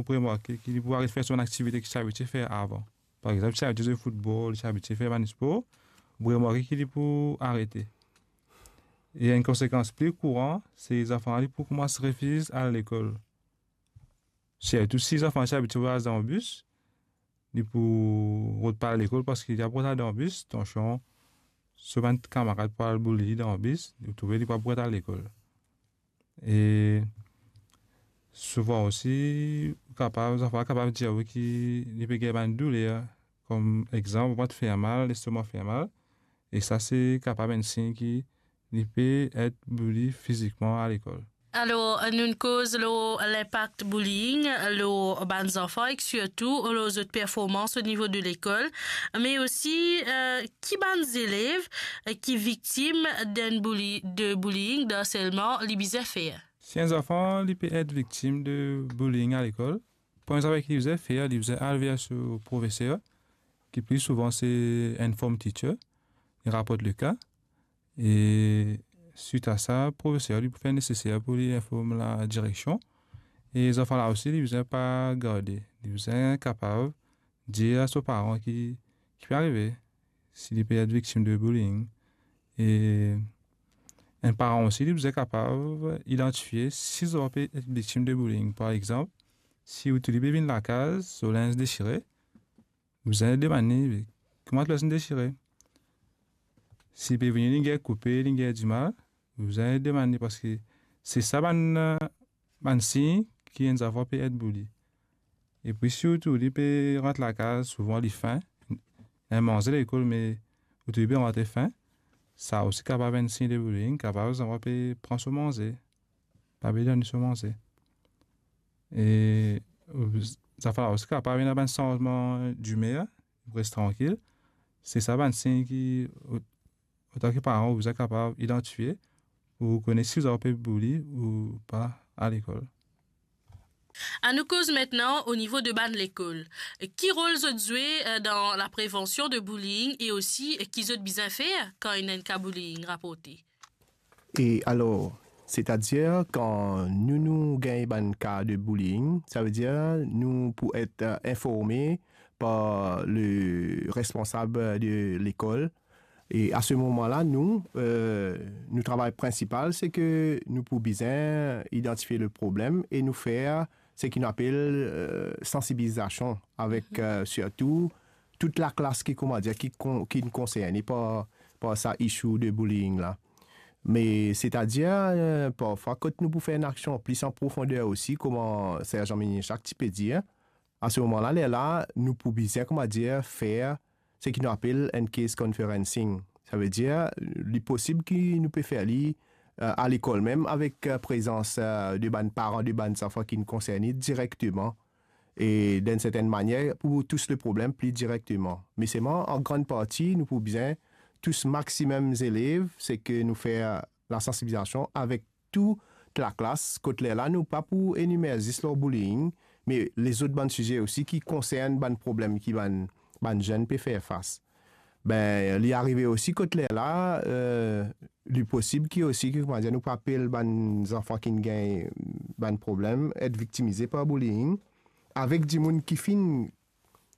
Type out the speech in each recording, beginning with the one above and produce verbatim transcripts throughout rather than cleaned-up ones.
pou remarke ki li pou aret fer so bann aktivite ki ti abitie fer avan. Par exanp, si ti abitie zwe foutbol, si ti abitie fer bann spor, pou remarke ki li pou arete. E enn konsekans pli kouran, se zanfan li pou koumans refiz al lekol. Sirtou si zanfan ti abitie vwayaz dan bis, li pou rod pa al lekol parski li ap rod al dan bis, tansion so bann kamarad pou al bouli li dan bis, li trouve li pa pou rod al lekol. E souvan osi, kapav, zanfan kapav dir ou ki li pe gagn bann douler, kom exanp, vant fer mal, lestoma fer mal, e sa se kapav enn sign ki li pe et bouli fizikman a lekol. Alor, nou'nn koz lor linpak bullying lor bann zanfan ek sirtou lor zot performans o nivo de lekol, me osi, eh, ki bann zelev, eh, ki viktim d'enn bouli-, de bullying, d'harselman, li bizin fer? Si enn zanfan li pe et viktim de bullying a lekol, premie zafar ki li bizin fer, li bizin al ver so profeser, ki pli souvan se enn form teacher, li raport le ka, e swit a sa, profeser li pou fer neseser pou li inform ladireksion. E zanfan la osi, li bizin pa garde, li bizin kapav dir a so paran ki, ki pe arive, si li pe et viktim de bullying. E enn paran osi, li bizin kapav idantifie si zanfan pe et viktim de bullying. Par exanp, si ou tou li pe vinn lakaz, so linz desire, bizin demann li, kouma to linz desire? Si pe vini, li gagn koupe, li gagn dimal, bizin demann li, parski se sa bann, bann sign ki enn zanfan pe et bouli. Epi sirtou, li pe rant lakaz, souvan li fin, ena manze lekol, me ou trouve li pe rant fin, sa osi kapav enn sign de bullying, kapav zanfan pe pran so manze, pa pe donn li so manze. E zanfan la osi kapav ena bann sanzman dimer, res trankil. Se sa bann sign ki, o-, otan ki paran, ou bizin kapav idantifie pou kone si zanfan pe bouli ou pa a lekol. Anou koz aster o nivo de bann lekol. Ki rol zot zwe, eh, dan laprevansion de bullying e osi, eh, ki zot bizin fer kan ena enn ka bullying raporte? E alor, setadir kan nou, nou gagn bann ka de bullying, savedir nou pou et, eh, informe par le responsab de lekol. E a se moman la, nou, eh, nou travay prinsipal, se ke nou pou bizin idantifie le problem e nou fer seki nou apel, eh, sansibilizasion avek, eh, sirtou tou laklas ki, koumadir, ki kon-, ki konserne par, par sa issue de bullying la. Me setadir, eh, parfwa, kot nou pou fer enn aksion plis an profonder osi, kouma Serjan Minichak ti pe dir, a se moman la, lerla, nou pou bizin, koumadir, fer seki nou apel enn case conferencing. Savedir, li posib ki nou pe fer li, eh, a lekol mem avek, eh, prezans, eh, de bann paran de bann zanfan ki konserne direkteman. E dan enn sertenn manier, pou tous le problem pli direkteman. Me selman, an grann parti, nou pou bizin tous maximum zelev, seki nou fer lasansibilizasion avek tou laklas, kot lerla nou pa pou enimer zis lor bullying, me lezot bann size osi ki konserne bann problem ki bann, bann zenn pe fer fas. Be, li arive osi kot lerla, eh, li posib ki osi, ki, koumadir, nou pou apel bann zanfan ki gagn bann problem, et viktimize par bullying, avek dimoun ki finn,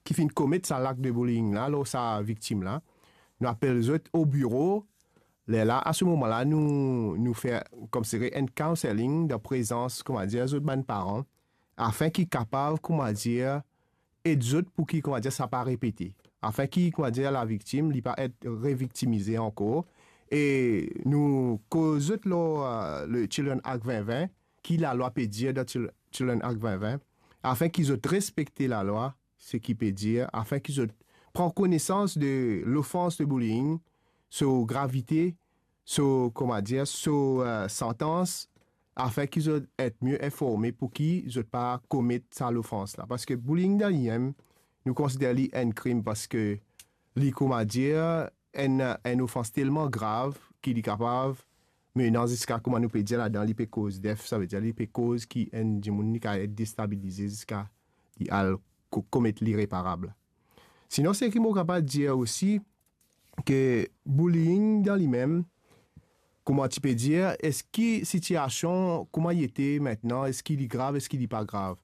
ki finn komet sa lak de bullying la, lor sa viktim la. Nou apel zot o biro, lerla, a se moman la, nou, nou fer koumsire enn counselling dan prezans, koumadir, zot bann paran, afin ki kapav, koumadir, ed zot pou ki, koumadir, sa pa repete. Afin ki, koumadir, laviktim, li pa et reviktimize ankor. E nou koz zot lor, eh, le Children Act vin vin, ki lalwa pe dir dan Chil-, Children Act vin vin, afin ki zot respekte lalwa, seki pe dir, afin ki zot pran konesans de lofans de bullying, so gravite, so, koumadir, so, eh, santans, afin ki zot et mie informe pou ki zot pa komet sa lofans la. Parski bullying dan limem, nou konsider li enn krim parski li, koumadir, enn, enn ofans telman grav ki li kapav menan ziska, kouma nou pe dir ladan, li pe koz def, savedir li pe koz ki enn dimoun li kapav et destabilize ziska li al ko-, komet lireparab. Sinon, seki mo kapav dir osi, ke bullying dan limem, kouma ti pe dir, eski sitiasion, kouma li ete mintnan, eski li grav, eski li pa grav?